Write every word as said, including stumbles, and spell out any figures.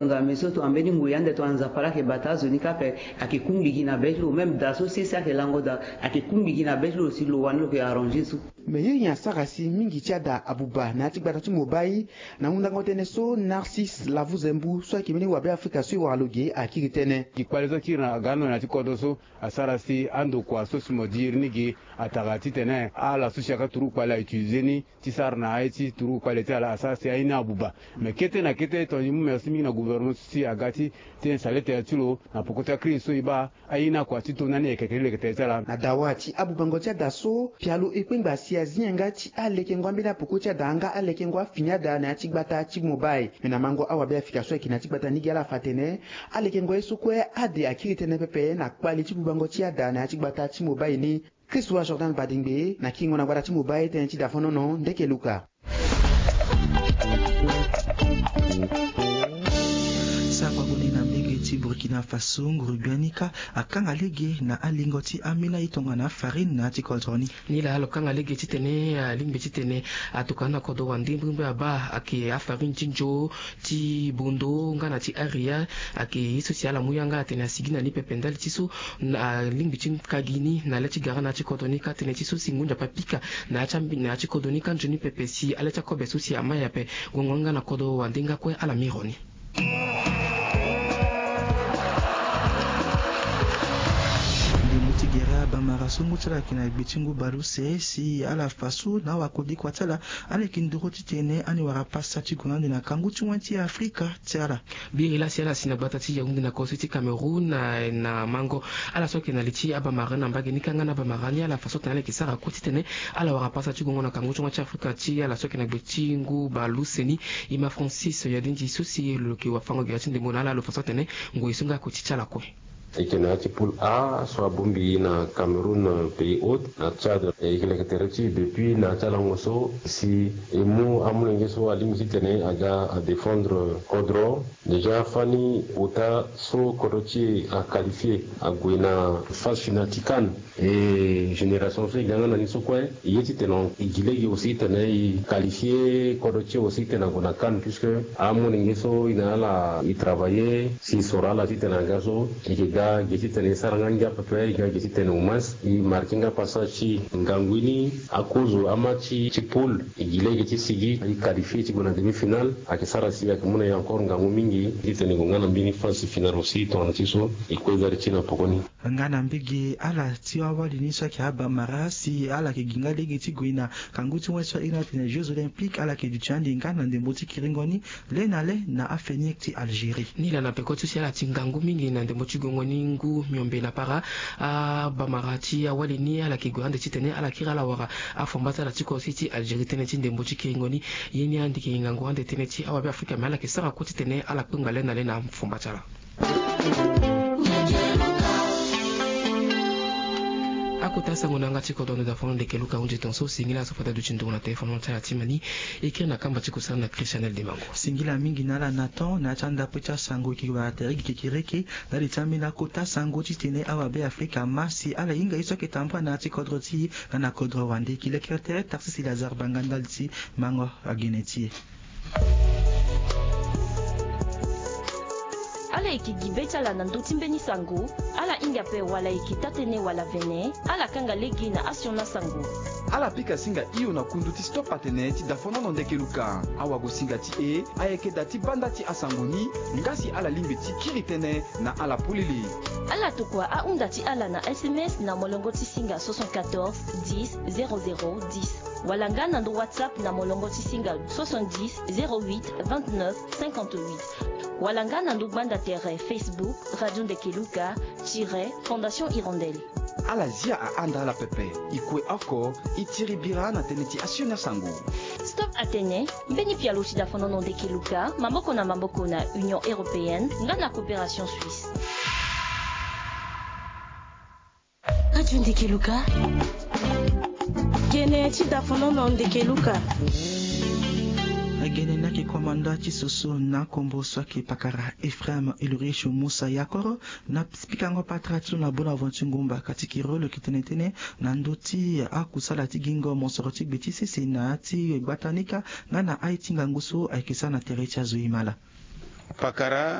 Nzambe so tongana mbeni ngoi ande tongana Nzapa laa ayeke bata azo ni kâ ape, ayeke kungbi gi na be ti lo. Même da so sese ayeke lango daa, ayeke kungbi gi na be ti lo si lo wani lo yeke arranger so. Me ye nyen asara si mingi ti ada abuba na ya ti gbata ti Mobai? Na hundango tënë so, Narcisse Lavuzembu so ayeke mbeni wabe Afrika so e wara lo ge akiri tënë. Gi kpale so akiri na aga ande na ya ti kodro so asara si andokua so si mo di iri ni ge atara titene ala so si ayeke turugu kpale a utiliser ni ti sara na aye ti turugu kpale ti ala asara si aye ni abuba. Me kete na kete tongana e mu merci mingi na gouvernement so si aga ti tene saletere ti lo na poko ti akiri so e baa aye ni akua ti to na ni ayeke kiri leke tere ti ala. Na dawa ti abubango ti ada so, pialo e kpengba si azi yanga ti alekengo ambeni apoko ti ada nga alekengo afini ada na ya ti gbata ti Mobai. Me na mango awabe Afrika so ayeke na ya ti gbata ni gi ala fa atene alekengo ye so kue ade akiri tënë pepe na kpale ti bubango ti ada na ya ti gbata ti Mobai ni. Christ wa Jordan Badingbe na kingo na gbata ti Mobai tënë ti Dafonono Ndeke Luka. Sango ague ni na mbege ti Burkina Faso, nguru biani kâ akanga lege na alingo ti amina ye tongana farine na ya ti kodro ni. Ni laa lo kanga lege titene alingbi titene atokua na kodro wande mbirimbiri abaa ayeke afarine ti nzo, ti bondo nga na ti aria. Ayeke ye so si ala mu yanga atene asigi na ni pepe ndali ti so alingbi ti ka gi ni na le ti gara na ya ti kodro ni kâ tënë ti so si ngu nzapa apika na ya ti ambi na ya ti kodro ni kâ nzoni pepe si ale ti akobe so si ama ye ape. Gongo ni nga na kodro wande nga kue ala miro ni. Ndembo ti gere abamara so ngu ti ala ayeke na gbe ti ngu baleuse si ala fa so na awakodikua ti ala, ala yeke nduru titene ani wara pasa ti gue na ande na kangu ti wen ti Afrika ti ala. Biri laa si ala si na gbata ti Yaoundé na kosi ti Cameroun na, na mango ala so ayeke na li ti abamara na mbage ni kâ nga na abamara ni ala fa so atene ala yeke sara kue titene ala wara pasa ti gongo na kangu ti wen ti Afrika ti ala so ayeke na gbe ti ngu baleuse ni. E ma Francis Yadindi so si lo yeke wafango gere ti ndembo na ala lo fa so atene ngoi so nga akoti ti ala kue. E yeke na ya ti poule A so abongbi na Cameroun, pays Hôte, na Tchad. E yeke leke tere ti e depuis na ya ti alango so si e mu amolenge so alingbi titene aga adéfendre kodro. Déjà fani ota so kodro ti e aqualifie ague na phase finale ti CAN. E génération so e ga nga na ni so kue e ye titene e gi lege aussi titene e qualifie kodro ti e aussi titene ague na CAN puisque amolenge so e na ala e travailler si e soro ala titene aga so e yeke ga ge titene e sara nga ngia pepe, e ga ge titene au moins e marquer nga passage ti ngangu ni. Akozo amatch ti poule e gi lege ti sigi e qualifie ti gue na demi-finale. Ayeke sara si ayeke mu na e encore ngangu mingi titene e gue nga na mbeni phase finale aussi tongana ti so e kue zari ti e na poko ni. Nga na mbege ala ti awali ni so ayeke abamara si ala yeke gi nga lege ti gue na kangu ti wen so a iri ni atene Jeux Olympiques, ala yeke duti ande nga na ndembo ti kiringo ni le na le na afenir ti Algérie. Ni laa na peko ti so si ala ti ngangu mingi na ndembo ti gongo ni ngu miombe na para abamara ti awali ni ala yeke gue ande titene ala kiri ala wara afomba ti ala ti kosi ti Algérie tënë ti ndembo ti kiringo ni. Ye ni ande yeke ngangu ande tënë ti awabe Afrika me ala yeke sara kue titene ala kpengba le na le na fomba ti ala. Akota sango na yanga ti kodro ndo Dafonono Ndeke Luka ahunzi tongaso. Singila so fade aduti nduru na téléphone ti ala ti mani. E kiri na kamba ti kusala na Christianel Dimango. Singila mingi na ala na temps na ya ti andapui ti asango e yeke wara tere gi kekereke ndali ti ambeni akota sango titene awabe Afrika ma si ala hinga ye so ayeke tambula na ya ti kodro ti e nga na kodro wande. E yeke lekere tere Tarcisse Lazare Banga ndali ti mango agene ti e. Ala yeke gi be ti ala na ndö ti mbeni sango. Ala hinga ape wala e yeke taa-tënë wala vene, ala kanga lege na asioni asango. Ala pika singa hio na kundu ti Stop Atene ti Dafonono Ndeke Luka. Awagosinga ti e ayeke da ti banda ti asango ni, nga si ala lingbi ti kiri tënë na ala polele. Ala tokua ahunda ti ala na S M S na molongo ti singa soixante-quatorze dix zéro zéro dix. Wala nga na ndo WhatsApp na molongo ti singa soixante-dix zéro huit vingt-neuf cinquante-huit. Wala nga na ndo gbanda tere Facebook Radio Ndeke Luka tiret Fondation Hirondelle. Ala zia ahanda ala pepe. E kue oko, e tiri bira na tënë ti asioni asango. Stop Atene, mbeni pialo ti Dafonono Ndeke Luka, maboko na maboko na Union Européenne nga na Coopération Suisse. Radio Ndeke Luka. Gene ti Dafonono Ndeke Luka. Agene ni ayeke komanda ti soso na kombo so ayeke pakara Ephraim Ulrich Musa Yakoro, na pikango patara ti lo na Bonaventure Ngumba, kati kiri lo yeke tene tënë na ndö ti akusala ti gingo mosoro ti gbe ti sese na ya ti gbata ni kâ nga na aye ti ngangu so ayeke sara na tere ti azo imala. Pakara